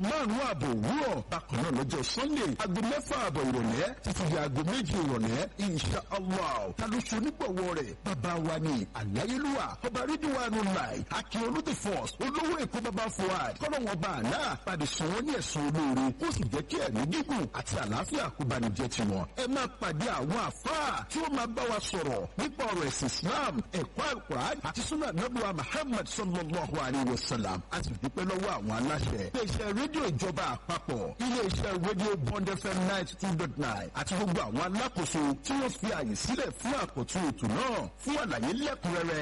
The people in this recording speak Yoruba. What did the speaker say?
5:30 òwúrọ̀. Bákan náà lọ́jọ́ Sunday, 6:30 ìrọ̀lẹ́ títí di 2:00 ìrọ̀lẹ́, insha Allah. Ta ló ṣe onígbọ̀wọ́ rẹ̀? Bàbá wa ni Àláyélúwà, Ọba Rídíwánu Láì, Akin Olóde Force, Olówó Èkó Bàbá Fuad, kọ́lọ́wọ́n bá àná, pàdé sàn wọ́n ní ẹ̀sùn olóore, kó sì jẹ́ kí ẹ̀mí gígùn àti àlàáfíà kó bá ní jẹ́ tiwọn. Ẹ máa pàdé àwọn àfáà tí ó máa bá wa sọ̀rọ̀ nípa ọ̀rọ̀ ẹ̀sìn Islam, ẹ̀kọ́ Al-Qur'an àti Sunnah Nabuwa Muhammad sallallahu alayhi wa sallam. A sì dúpẹ́ lọ́wọ́ àwọn aláṣẹ. Iléeṣẹ́ rédíò ìjọba àpapọ̀, iléeṣẹ́ rédíò Bond FM 92.9 àti gbogbo àwọn alákòóso tí wọ́n fi àyè sílẹ̀ fún àkọ́tún ètò náà fún àlàyé lẹ́kùnrẹ́rẹ́.